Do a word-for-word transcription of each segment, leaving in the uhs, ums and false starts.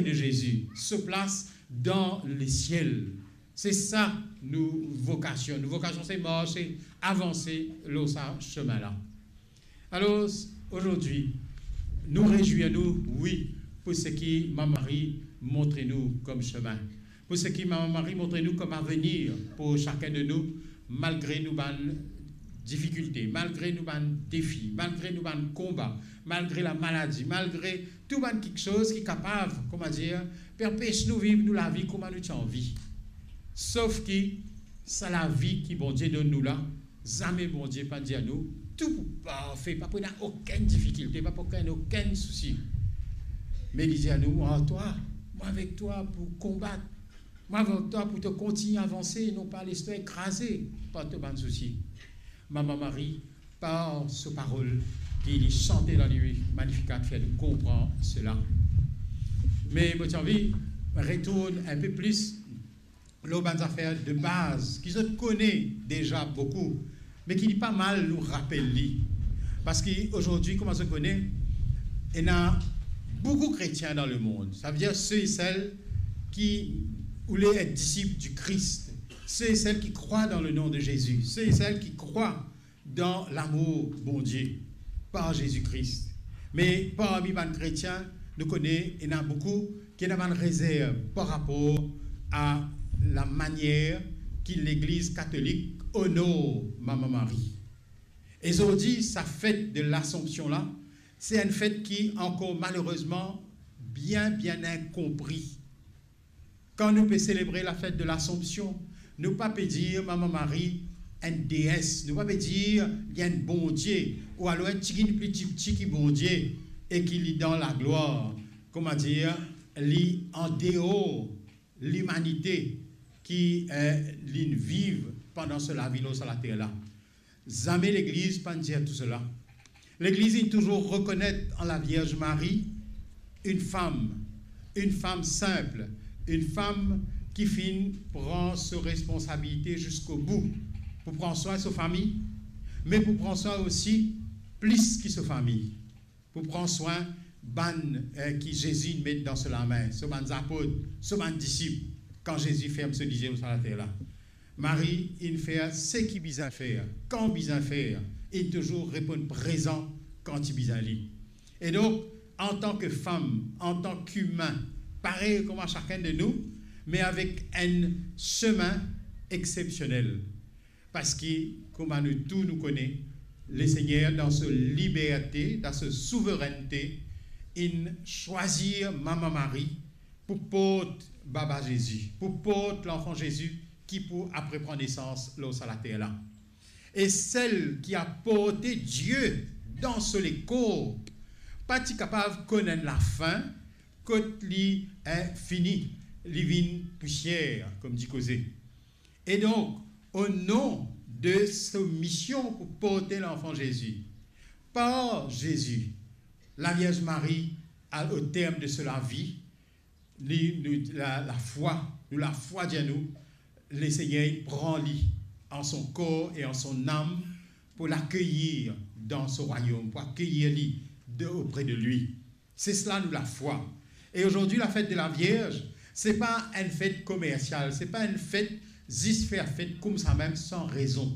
de Zezi, so plas dan lesiel. Se sa nou vokasion. Nou vokasion se marse, avanse lor sa semin la. Alor, azordi, nou rezwir nou, wi, pou seki Mama Mari montre nou kom semin, pou seki Mama Mari montre nou kom avenir pou sakenn de nou, malgre nou bann difikilte, malgre nou bann defi, malgre nou bann konba, malgre lamaladi, malgre tou bann kiksoz ki kapav, kouma dir, pe anpes nou viv nou lavi kouma nou ti anvi. Sof ki sa lavi ki Bondie donn nou la, zame Bondie pa dir nou, tou pou parfe, pa pou ena okenn difikilte, pa pou ena okenn sousi. Me li dir nou, "Mo ar twa, mo avek twa pou konbat, mo avek twa pou to kontign avanse, non pa les twa ekraze par to bann sousi." Mama Mari, par so parol ki li sante dan li Magnificat, fer nou konpran sela. Me mo ti anvi retourn inpe plis lor bann zafer de baz ki zot kone deza boukou, me ki li pa mal nou rapel li. Parski azordi, kouma zot kone, ena boukou kretien dan lemond. Savedir se e sel ki oule et disip di Kris, se e sel ki krwar dan le nom de Zezi, se e sel ki krwar dan lamour Bondie par Zezi Kris. Me parmi bann kretien, nou kone ena boukou ki ena bann rezerv par rapor a lamanier ki Legliz Katolik onor Mama Mari. E zordi, sa fet de Lasanpsion la, se enn fet ki ankor malerezman bien, bien inkonpri. Kan nou pe selebre lafet de Lasanpsion, nou pa pe dir Mama Mari enn dees, nou pa pe dir li enn Bondie, ou alor enn tigit pli tipti ki Bondie, e ki li dan laglwar, kouma dir, li andeor limanite ki, eh, linn viv pandan so lavi lor sa later la. Zame Legliz pa'nn dir tou sela. Legliz inn touzour rekonet an Lavierz Mari enn fam, enn fam sinp, enn fam ki finn pran so responsabilite ziskobou, pou pran swin so fami, me pou pran swin osi plis ki so fami, pou pran swin bann, eh, ki Zezi inn met dan so lame, so bann zapot, so bann disip, kan Zezi ferm so lizie lor sa later la. Mari inn fer seki bizin fer, kan bizin fer, inn touzour reponn prezan kan ti bizin li. E donk, antan ki fam, antan ki imin, parey kouma sakenn de nou, me avek enn semin exsepsionel. Parski, kouma nou tou nou kone, Lesegner dan so liberte, dan so souverennte, inn swazir Mama Mari pou port baba Zezi, pou port lanfan Zezi ki pou apre pran nesans lor sa later la. E sel ki a porte Die dan so lekor pa ti kapav konn enn lafin, kot li, eh, fini, li vinn pousier, kouma dir koze. E donk, o nom de so mision pou porte lanfan Zezi, par Zezi, Lavierz Mari, al, o term de so lavi, li, nou, la, lafwa, nou lafwa dir nou, Lesegner pran li an son kor e an son nam pou lakeyir dan so rwayom, pou akeyir li de, opre de li. Se sela nou lafwa. E zordi, lafet de Lavierz, se pa enn fet komersial, se pa enn fet zis fer fet koumsamem san rezon.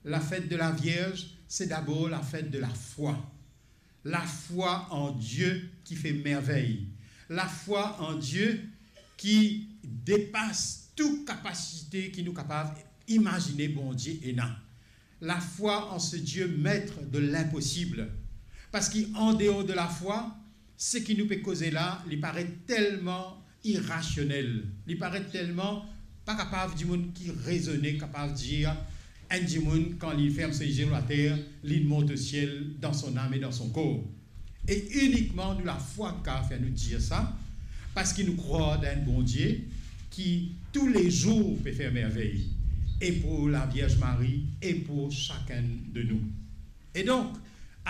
Lafet de Lavierz, se dabor lafet de lafwa. Lafwa an Die ki fer mervey. Lafwa an Die ki depas tou kapasite ki nou kapav imazine Bondie ena. Lafwa an se Die maître de l'impossible. Parski andeor de lafwa, seki nou pe koze la, li paret telman irasionel, li paret telman pa kapav dimoun ki rezone kapav dir, enn dimoun, kan li ferm so lizie lor later, li mont o siel dan so nam e dan so kor. E inikman nou lafwa ki kapav fer nou dir sa, parski nou krwar dan enn Bondie ki toulezour pe fer mervey, e pou Lavierz Mari, e pou sakenn de nou. E donk,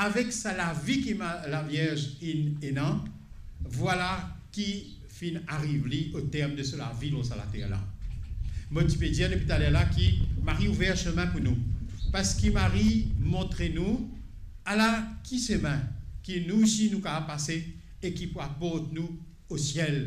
avek sa lavi ki ma-, Lavierz inn ena, vwala ki finn ariv li o term de so lavi lor sa later la. Mo ti pe dir depi taler la ki Mari ouver semin pou nou, parski Mari montre nou ala ki semin ki nou osi nou kapav pase e ki pou aport nou o siel,